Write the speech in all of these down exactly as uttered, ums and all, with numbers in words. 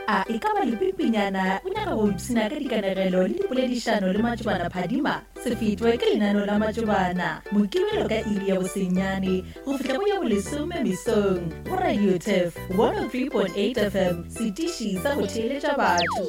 A e ka ba lepimpinyana o nyaka go ipshina ka dikanegelo le dipoledišano le Matšobana Phadima? Se fetwe ke lenaneo la Matšobana Mokibelo ka iri ya bosenyane go fihla go ya bolesome mesong go Radio Turf one oh three point eight F M, setiši sa go theeletša batho.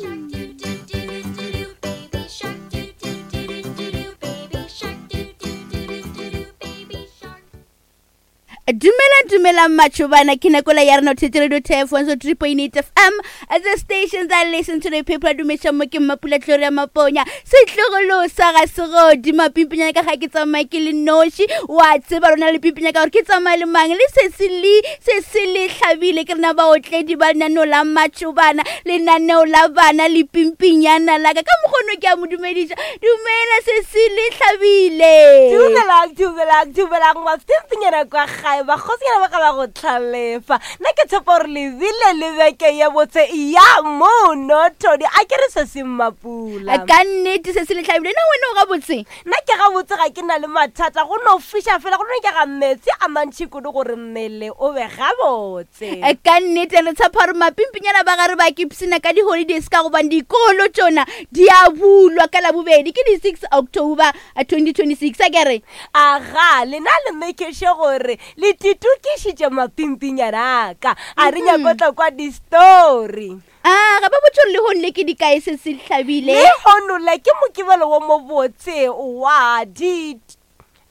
Dumela dumela Matšobana, ke nako la ya rena o Radio Turf one oh three point eight F M, the stations that listen to the people. Dumeša mo ke Mmapula Gloria Maponya, setlogolo sa ga segodi mapimpinyana ka ga ke tsamaye ke le noši. Wa tseba rona le pimpinyana ka gore ke tsamaye le mang le se se le se se le hlabile ke rena baotledi ba lenaneo la Matšobana, lenaneo la bana le pimpinyana la ka ka mokgono ke a mo dumediša. Dumela se se le hlabile. Dumelang dumelang dumelang mapimpinyana kwa gae, bakgosinyana ba ka ba go tlhalefa. Nna ke tshepa gore le bile le beke ye botse ya monothodi. A ke re se se Mmapula. Ka nnete se se le hlabile. Na wena o gabotse? Nna ke gabotse, ga ke na le mathata, go no fiša fela, go no nyakega metsi a mantši kudu gore mmele o be gabotse. Ka nnete re tshepa gore mapimpinyana ba gare ba ke ipshina ka di-holidays ka gobane dikolo tšona di a bulwa ka Labobedi, ke di-six October twenty twenty-six. A ke re aga lena le make sure gore le titokišitše mapimpinyana ka a re nyako tla kwa di-story. Ah, ga ba botse gore lehono le ke dikae se se hlabile? Lehono le ke Mokibelo wo mobotse wa di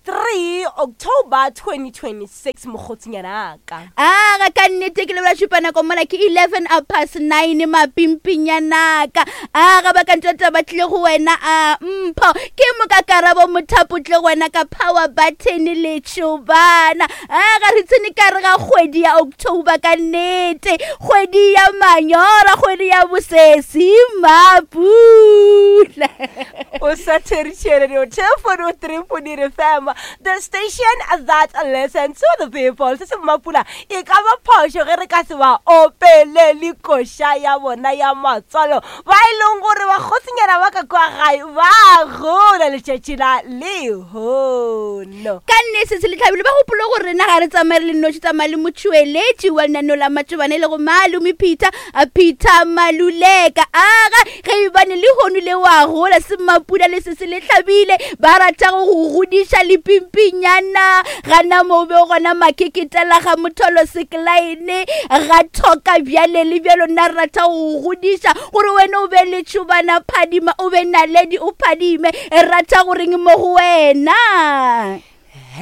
three October twenty twenty-six, mokgotsinyana ka. Ah, ga ka nnete ke lebela šupa nako mola ke eleven up past nine mapimpinyana ka. Ah, ga ba ka ntata ba tlile go wena, a mpho ke moka karabo mothapo tle go wena ka power button le tšobana. Ah, ga re tsene ka re ga kgwedi ya October ka nnete, kgwedi ya manyora, kgwedi ya bosesi Mapula. O sa therišere dio telephone o three point eight F M, the station that listens to the people. Se se Mmapula e ka ba phošo ge re ka se ba opelele koša ya bona ya matswalo, ba e leng gore bakgosinyana ba ka kwa gae ba gola letšatši la lehono. Ka nne se se le hlabile, ba gopole gore rena ga re tsamaye re le noši, tsamaye le motšweletši wa lenaneo la Matšobana e lego Malome Peter, Peter Maluleka. Aga ge e bane lehono le wa gola se Mmapula le se se le hlabile, ba rata go go godiša le pimpinyana gana mo be gona makeketela ga motholo seklaene ga thoka bjale le bjalo. Nna re rata go godiša gore wena o be le tšobana phadima, o be naledi o phadime. Re rata goreng mo go wena?